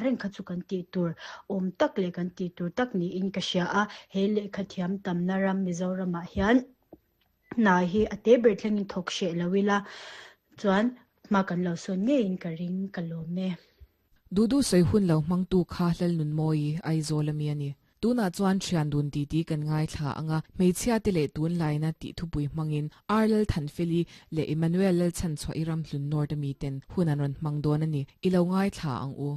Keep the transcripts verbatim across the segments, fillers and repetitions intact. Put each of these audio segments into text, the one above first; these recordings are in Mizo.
reng kha chu kan tih tur awm tak leh kan tih tur tak niin ka hria a. He lehkha thiam tamna ram Mizoramah hian hna hi a te ber thlengin thawk hreh lo ila chuan hma kan lo sawn ngeiin ka ring, ka lawm e. Dudu sawi hun lo hmangtu kha Lalnunmawii Aizawl ami a ni. Tunah chuan thian dun titi kan ngaithla anga hmeichhia te leh tunlaina tih thupui hmangin Ar Lalthanfeli leh Emmanuel Lalchhanchhuah i Ramhlun North ami ten hun an rawn hmang dawn a ni. I lo ngaithla ang u.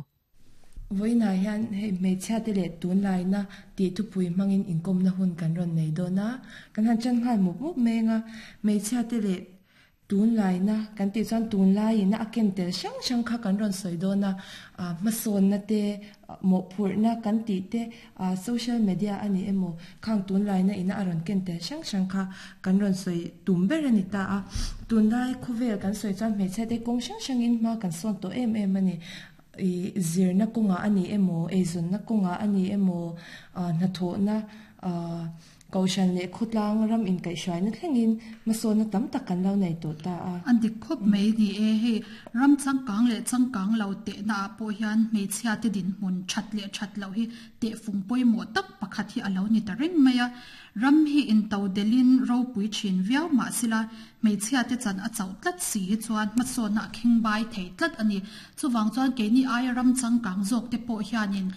Vawiinah hian hei hmeichhia te leh tunlaina tih thupui hmangin inkawmna hun kan rawn nei dawn a. Kan han ṭan nghal mup mup mai anga hmeichhia te leh tunlaina kan tih chuan tunlaiin a ken tel hrang hrang kha kan rawn sawi dawn a. Hmasawnna te, mawhphurhna kan tih te, social media a ni emaw khang tunlaina ina a rawn ken tel hrang hrang kha kan rawn sawi tum ber a ni ta a. Tunlai khawvel kan sawi chuan hmeichhia te kawng hrang hrangin hma kan sawn tawh em em a ni. Zirna kawngah a ni emaw, eizawnna kawngah a ni emaw, hnathawhna Kohhran leh khawtlang ram inkaihhruaina thlengin hmasawnna tam tak kan lo nei tawh ta a. A dik khawp mai ni e. Hei ram changkang leh changkang lo tehna ah pawh hian hmeichhia te dinhmun that leh that loh hi tehfung pawimawh tak pakhat hi a lo ni ta reng mai a. Ram hi into delhin ropui thin viau mah sila hmeichhia te chan a chauh tlat si hi chuan hmasawnna a khingbai thei tlat a ni. Chuvang chuan keini aia ram changkang zawk te pawh hianin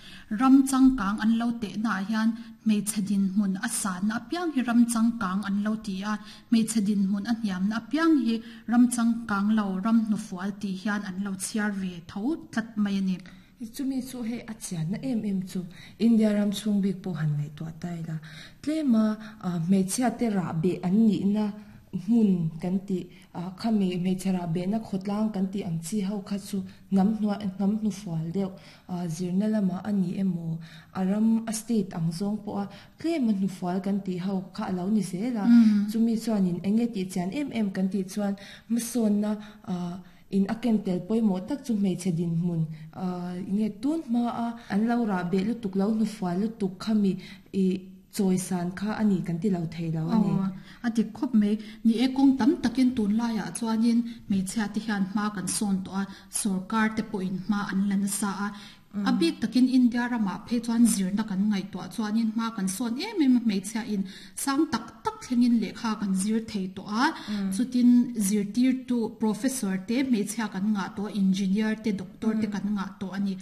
ram changkang an lo tehna ah hian hmeichhe dinhmun a sanna apiang hi ram changkang an lo ti a, hmeichhe dinhmun a hniamna apiang hi ram changkang lo, ram hnufual tih hian an lo chhiar ve tho tlat mai a ni. Chumi chu hei a chianna em em chu India ram chhung bik pawh han ngaihtuah ta ila, tlema hmeichhia te rahbeh an nihna hmun kan tih, khami hmeichhe rahbehna khawtlang kan tih ang chi ho kha chu hnam hnuai hnam hnufual deuh zirna lamah a ni emaw, a ram a state ang zawng pawha tlema hnufual kan tih ho kha a lo ni zel a. Chumi chuanin eng nge tih chian em em kan tih chuan hmasawnna in a ken tel pawimawh tak chu hmeichhe dinhmun nge tun hmaa an lo rahbeh lutuk lo hnufual lutuk khami ih chawisan kha a ni kan ti lo thei lo a ni. Aw, a dik khawp mai. Ni e, kawng tam takin tunlaiah chuanin hmeichhia te hian hma kan sawn tawh a, sorkar te pawhin hma an la nasa a. A bik takin India ramah phei chuan zirna kan ngaihtuah chuanin hma kan sawn em em a, hmeichhia in sang tak tak thlengin lehkha kan zir thei tawh a. Chutin zirtirtu professor te hmeichhia kan ngah tawh a, engineer te, doctor te kan ngah tawh a ni.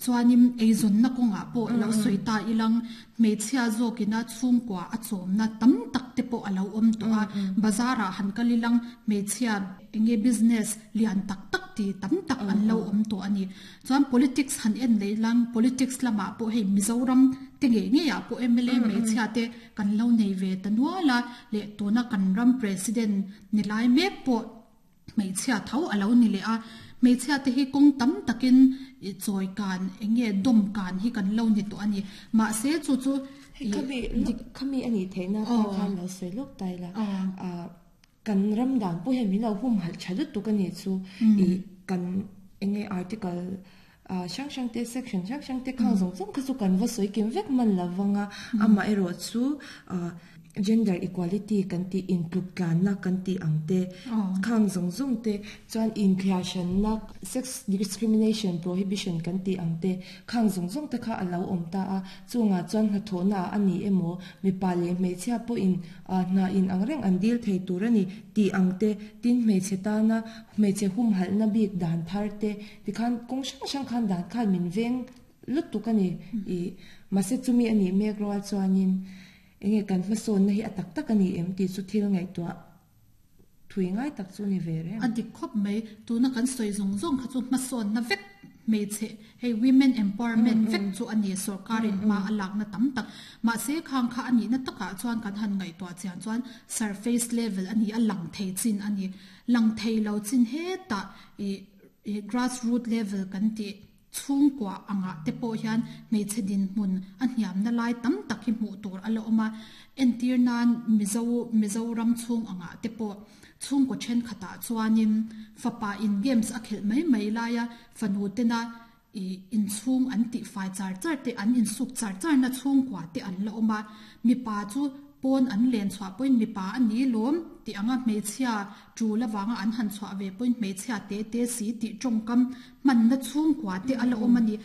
Chuanin eizawnna kawngah pawh lo sawi ta ilang hmeichhia zawkina chhungkua a chawmna tam tak te pawh a lo awm tawh a. Bazar ah han kal ilang hmeichhia enge business lian tak tak ti tam tak an lo awm tawh a ni. Chuan politics han en leh ilang politics lamah pawh hei Mizoram te ngei ngei ah pawh M L A hmeichhia te kan lo nei ve ta nual a, leh tuna kan ram president ni lai mek pawh hmeichhia tho a lo ni leh a. Hmeichhia te hi kawng tam takin chawi kan enge dawm kan hi kan lo ni tawh a ni. Mahse chu chu Hei khami khami a nih theihna te khan lo sawi lawk ta ila. Kan ram dan pawh hian min lo humhalh tha lutuk a nih chu. Ih kan enge article hrang hrang te section hrang hrang te khang zawng zawng kha chu kan va sawi kim vek hman lo vang a. Amaherawh chu gender equality kan tih intluk tlanna kan tih ang te khang zawng zawng te chuan inthliahhranna sex discrimination prohibition kan tih ang te khang zawng zawng te kha a lo awm ta a. Chungah chuan hnathawhna ah a ni emaw mipa leh hmeichhia pawhin hna in ang reng an dil thei tur a ni tih ang te, tin hmeichhe tana hmeichhe humhalhna bik dan thar te tikhan kawng hrang hrang khan dan khan min veng lutuk a ni. Ih mahse chumi a nih mek rual chuanin enge kan hmasawnna hi a tak tak a ni em tih chu thil ngaihtuah thui ngai tak chu ni ve reng. A dik khawp mai. Tuna kan sawi zawng zawng kha chu hmasawnna vek hmeichhe hei women empowerment vek chu a ni sorkarin hma a lakna tam tak. Mahse khang kha a nihna takah chuan kan han ngaihtuah chian chuan surface level a ni a, lang thei chin a ni. Lang thei lo chin hetah ih grass root level kan tih chhungkua angah te pawh hian hmeichhe dinhmun a hniamna lai tam tak hi hmuh tur a la awm a. Entir nan Mizo Mizoram chhung angah te pawh chhungkaw thenkhatah chuanin fapa in games a khelh mai mai laia fanu tena ih inchhung an tih fai char char te an insuk char charna chhungkua te an la awm a. Mipa chu Pawn an len chhuah pawhin mipa a ni lawm tih anga hmeichhia tul avanga an han chhuah ve pawhin hmeichhia te te si tih tawngkam hmanna chhungkua te a la awm a ni.